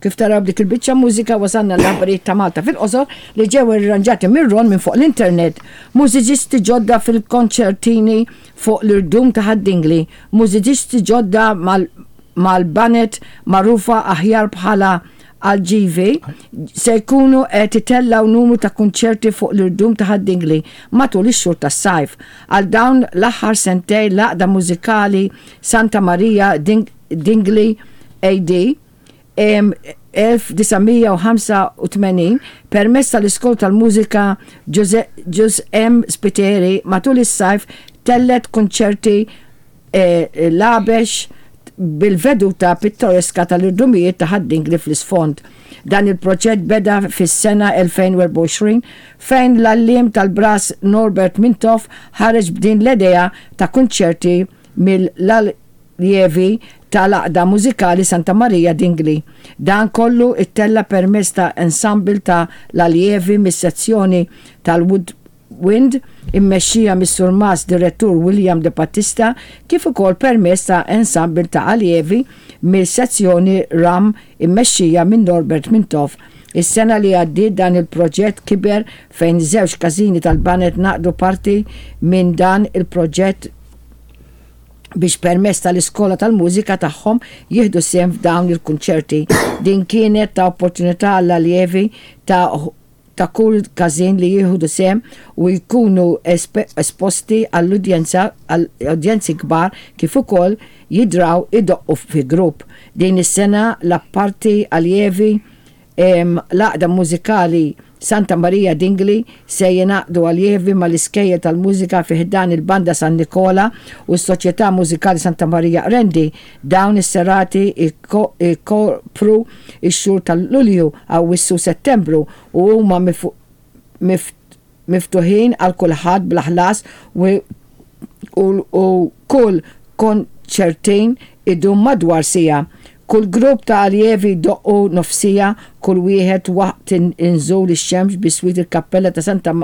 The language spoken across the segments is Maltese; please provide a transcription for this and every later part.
Kif taraw b'dik il-biċċa mużika wasalna l-aħbarijiet ta' Malta fil-qosor li ġew irranġati minn Ron minn fuq l-internet. Mużiċisti ġodda fil-konċertini fuq l-irdum ta' Ħad-Dingli, mużiċisti ġodda mal-baned magħrufa aħjar bħala Alġivi se jkunu qed itellgħu numru ta' kunċerti fuq l-irdum ta' Ħad-Dingli matul ix-xhur tas-sajf. Għal dawn l-aħħar sentejn l-Għaqda Mużikali Santa Maria Dingli AD 1985 permezz tal-Iskola tal-Mużika Ġuż M. Spiteri matul is-sajf tellgħet kunċerti l-għabex bil-veduta pittoreska tal-irdumijiet ta' Ħad-Dingli fl-isfond. Dan il-proġett beda fis-sena 2024 fejn l-għalliem tal-brass Norbert Mintoff ħareġ b'din l-idea ta' kunċerti mill-aljevi tal-Għaqda Mużikali Santa Marija Dingli. Dan kollu ttella' permezz ta' ensemble ta' l-aljevi mis-sezzjoni tal-Wood Wind, immexxija mis-Surmast Direttur William De Battista, kif ukoll permezz ta' ensemble ta' aljevi mill-sezzjoni ram immexxija minn Norbert Mintoff. Is-sena li għaddiet dan il-proġett kiber fejn żewġ każini tal-baned ngħaqdu parti minn dan il-proġett biex permezz tal-iskola tal-mużika tagħhom jieħdu sehem f'dawn il-kunċerti. Din kienet ta' opportunità għall-aljevi ta' ta' kull każin li jieħdu sehem u jkunu esposti għall-udjenza għal udjenzi kbar kif ukoll jidraw idoqqu fi grupp. Din is-sena l-apparti aljevi l-Għaqda Mużikali Santa Maria Dingli se jingħaqdu aljevi mal-iskejjel tal-mużika fi ħdan il-Banda San Nikola u s-Soċjetà Mużikali Santa Maria Qrendi. Dawn is-serati jkopru x-xhur ta' Lulju, Awwissu u Settembru u huma miftuħin għal kulħadd bla ħlas u kull konċertin idum madwar siegħa. Kull grupp ta' aljevi jdoqqu nofs siegħa kull wieħed waqt inżul ix-xemx biswit il-Kappella ta' Santa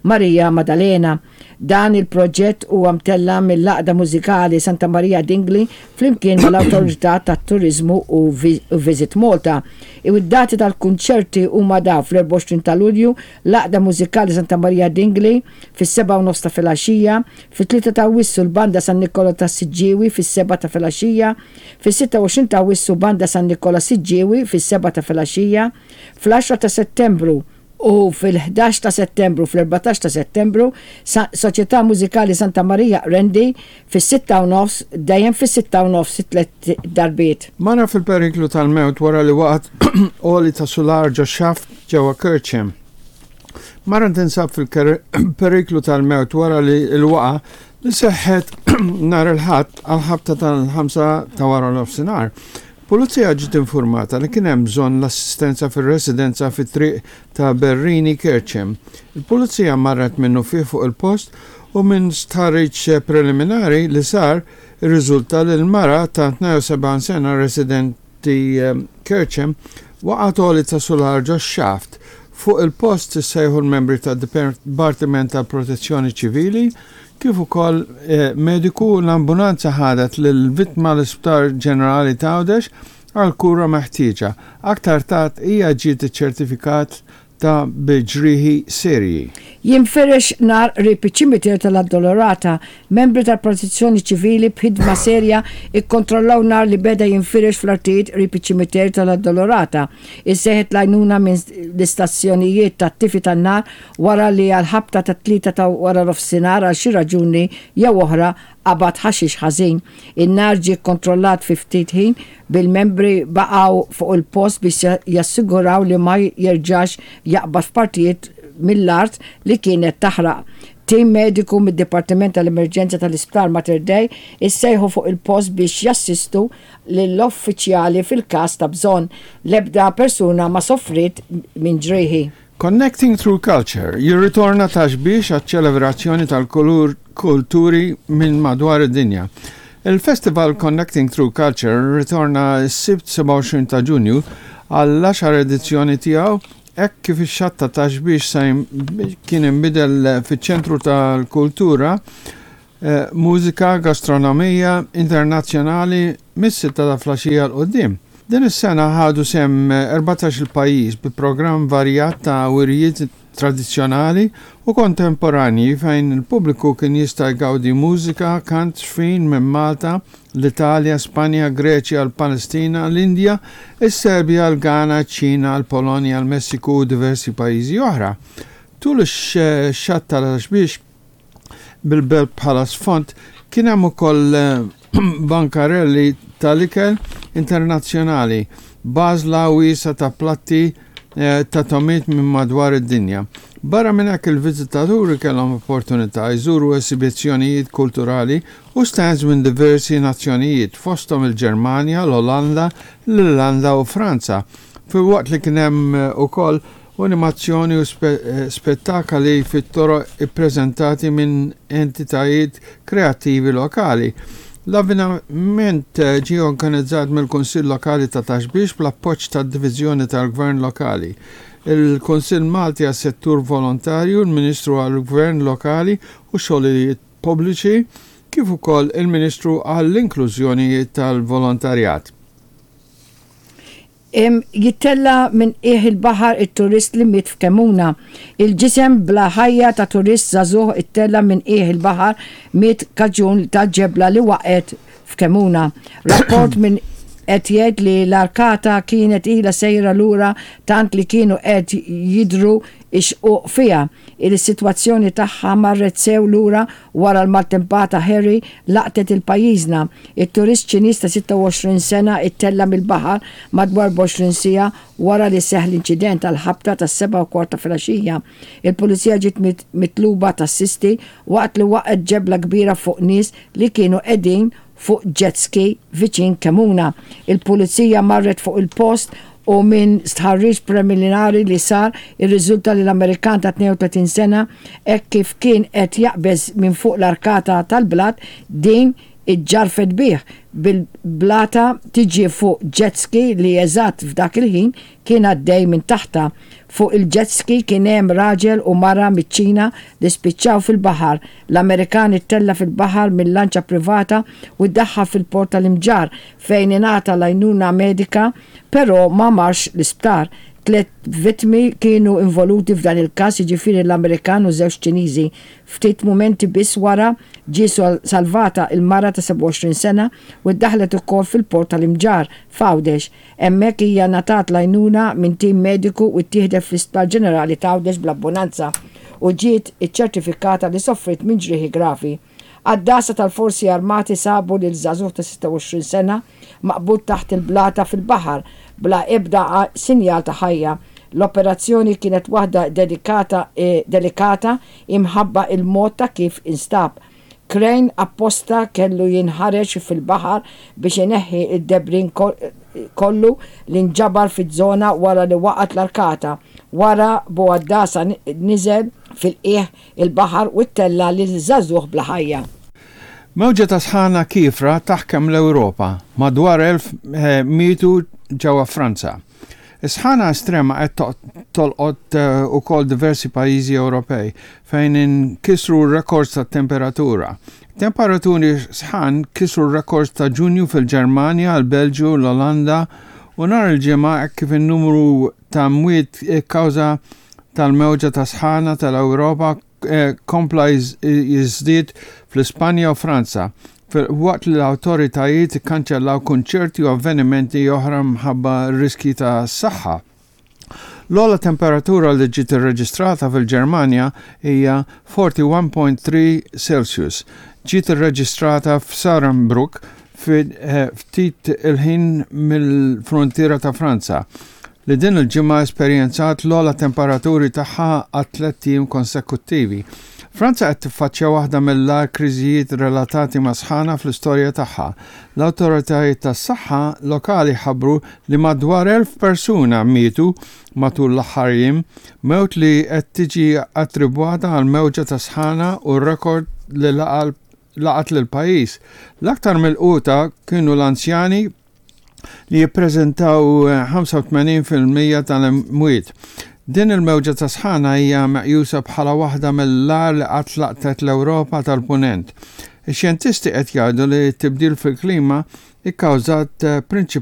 Marija Madalena. Dan il-proġett huwa mtella' mill-Għaqda Mużikali Santa Maria Dingli flimkien mal-Awtorità tat-Turiżmu u Visit Malta. Id-dati tal-kunċerti huma dawn, fl-24 ta' Lulju, l-Għaqda Mużikali Santa Maria Dingli fis-sebgħa u nofs ta' filgħaxija, fit-tlieta ta' Awwissu l-Banda San Nikola tas-Siġġiewi fis-sebgħa ta' filgħaxija, fis-26 ta' Awwissu Banda San Nikola Siġġiewi fis-sebgħa ta' filgħaxija, fl-għaxra ta' Settembru, u fil-11 ta' Settembru fl-14 ta' Settembru, Soċjetà Mużikali Santa Marija Qrendi fis-sitta u nofs, dejjem fis-sitta u nofs it-tliet darbiet. Mara fil-periklu tal-mewt wara li waqgħet għoli ta' sular ġo xaft ġewwa Kerċem. Mara tinsab fil-periklu tal-mewt wara li l-waqgħa li seħħet nhar il-Ħadd għall-ħabta tal-ħamsa ta' wara nofsinhar. Pulizija ġiet infurmata li kien hemm bżonn l-assistenza fir-residenza fit-triq ta' Berrini Kerċem. Il-Pulizija marret minnufih fuq il-post u minn stħarriġ preliminari li sar irriżulta li l-mara ta' 72 sena residenti Kerċem waqgħet għoli ta' sular ġox-xaft. Fuq il-post issejħu l-membri tad-Dipartiment tal-Protezzjoni Ċivili kif ukoll mediku, l-ambulanza ħadet lill-vittma l-Isptar Ġenerali t'Għawdex għall-kura meħtieġa. Aktar tard hija ġiet iċċertifikat ta' bi ġrieħi serji. Jinfirex nar qrib iċ-ċimiterju tal-Addolorata. Membri tal-Protezzjoni Ċivili b'ħidma serja kkontrollaw nar li beda jinfirex fl-artijiet qrib iċ-ċimiterju tal-Addolorata. Issejħet l-għajnuna minn l-istazzjonijiet tat-tifi tan-nar wara li għall-ħabta tat-tlieta ta' waranofsinhar għal xi raġuni jew oħra qabad ħaxix ħażin. In-nar ġie kkontrollat fi ftit ħin bil-membri baqgħu fuq il-post biex jassiguraw li ma jerġax jaqbad f'partijiet mill-art li kienet taħraq. Tim mediku mid-Dipartiment tal-Emerġenza tal-Isptar Mater Dei issejħu fuq il-post biex jassistu lill-uffiċjali fil-każ ta' bżonn. L-ebda persuna ma sofriet minn ġrieħi. Connecting Through Culture jirritorna Ta' Xbiex għaċ-ċelebrazzjoni tal-kulturi minn madwar id-dinja. Il-festival Connecting Through Culture rritorna s-Sibt 27 ta' Ġunju għall-għaxar edizzjoni tiegħu hekk kif ix-xatt ta' Ta' Xbiex se kien inbidel fiċ-ċentru tal-kultura, mużika, gastronomija internazzjonali mis-sitta ta' flaxija 'l quddiem. Din is-sena ħadu sehem 14-il pajjiż bi programm varjat ta' wirjiet tradizzjonali u kontemporanji fejn il-pubbliku kien jista' jgawdi mużika, kant, żfin minn Malta, l-Italja, Spanja, Greċja, l-Palestina, l-Indja, is-Serbja, l-Ghana, iċ-Ċina, l-Polonja, l-Messiku u diversi pajjiżi oħra. Tul ix-xatt tal-Għaxbiex, bil-belt bħala sfond, kien hemm ukoll bankarelli tal-ikel internazzjonali b'għażla wiesgħa ta' platti ta' togħmiet minn madwar id-dinja. Barra minn hekk il-viżitaturi kellhom opportunità jżuru esibizzjonijiet kulturali u stands minn diversi nazzjonijiet, fosthom il-Ġermanja, l-Olanda, l-Irlanda u Franza, filwaqt li kien hemm ukoll u animazzjoni u spettakali fit-toroq ippreżentati minn entitajiet kreattivi lokali. L-avveniment ġie organizzat mill-Kunsill Lokali ta' Ta' Xbiex bl-appoġġ tad-Diviżjoni tal-Gvern Lokali, il-Kunsill Malti għas-Settur Volontarju, il-Ministru għall-Gvern Lokali u Xogħlijiet Pubbliċi kif ukoll il-Ministru għall-Inklużjoni tal-Volontarjat. Jittella' minn qiegħ il-baħar it-turist li miet f'Kemmuna. Il-ġisem bla ħajja ta' turist żagħżugħ ittella' minn qiegħ il-baħar miet kaġun ta' ġebla li waqgħet f'Kemmuna. Rapport minn qed jgħid li l-arkata kienet ilha sejra lura tant li kienu qed jidhru x-xquq fiha. Il-sitwazzjoni tagħha marret sew lura wara l-maltempata Harry laqtet il-pajjiżna. It-turist Ċiniż ta' 26 sena ittella' mill-baħar madwar 24 siegħa wara li seħħ l-inċident għall-ħabta tas-sebgħa u kwart ta' filgħaxija. Il-Pulizija ġiet mitluba tassisti waqt li waqgħet ġebla kbira fuq nies li kienu qegħdin fuq jet ski viċin Kemmuna. Il-Pulizija marret fuq il-post u minn stħarriġ preliminari li sar irriżulta li l-Amerikan ta' 32 sena hekk kif kien qed jaqbeż minn fuq l-arkata tal-blat din iġġarfet bih, bil-blata tiġi fuq jet ski li eżatt f'dak il-ħin kien għaddej minn taħtha. Fuq il-jet ski kien hemm raġel u mara miċ-Ċina li spiċċaw fil-baħar. L-Amerikan ittella' fil-baħar minn lanċa privata u ddaħħal fil-port tal-Imġarr fejn ingħata l-għajnuna medika però ma marx l-isptar. Tlett vittmi kienu involuti f'dan il-każ jiġifieri l-Amerikan u żewġ Ċiniżi. Ftit mumenti biss wara ġie salvata il-mara ta' 27 sena u ddaħħlet ukoll fil-port tal-Imġarr, f'Għawdex. Hemmhekk hija ngħatat l-għajnuna minn tim mediku u ttieħdet fl-Isptar Ġenerali t'Għawdex bl-abbunanza u ġiet iċċertifikata li soffriet minn ġrieħi gravi. Għaddasa tal-Forzi Armati sabu lil żagħżugħ ta' 26 sena maqbud taħt il-blata fil-baħar bla ebda sinjal ta' ħajja. L-operazzjoni kienet waħda dedikata delikata imħabba il-mod ta' kif instab. Krejn apposta kellu jinħareġ fil-baħar biex ineħħi d-debris kollu li nġabar fiż-żona wara li waqgħet l-arkata. Wara, bugħaddasa niżel fil-qiegħ il-baħar u ttella' lil żagħżugħ bla ħajja. Mewġa ta' sħana kiefra taħkem l-Ewropa, madwar 1,000 mietu ġewwa Franza. Is-sħana estrema qed tolqot ukoll diversi pajjiżi Ewropej fejn inkisru rekords tat-temperatura. Temperaturi sħan kisru r-rekords ta' Ġunju fil-Ġermanja, l-Belġju, l-Olanda u nhar il-Ġimgħa hekk kif in-numru ta' mwiet kkawża tal-mewġa ta' sħana tal-Ewropa kompla jiżdied fl-Ispanja u Franza, filwaqt li l-awtoritajiet ikkanċellaw kunċerti u avvenimenti oħra minħabba riskji ta' saħħa. L-ogħla temperatura li ġiet irreġistrata fil-Ġermanja hija 41.3 Celsius. Ġiet irreġistrata f'Saarbrücken ftit il-ħin mill-fruntiera ta' Franza, li din il-ġimgħa esperjenzat l-ogħla temperaturi tagħha għal tlett ijiem konsekuttivi. Franza qed tiffaċċja waħda mill-agħar kriżijiet relatati mas-sħana fl-istorja tagħha. L-awtoritajiet tas-saħħa lokali ħabbru li madwar 1,000 persuna mietu matul l-aħħar jiem, mewt li qed tiġi attribwata għall-mewġa ta' sħana u r-rekord li laqat lill-pajjiż. L-aktar milquta kienu l-anzjani li jippreżentaw 85% tal-imwiet. Din il-mewġa ta' sħana hija meqjusa bħala waħda mill-agħar li qatt laqtet l-Ewropa tal-Punent. Ix-xjentisti qed jgħidu li t-tibdil fil-klima kkawżat prinċipalment.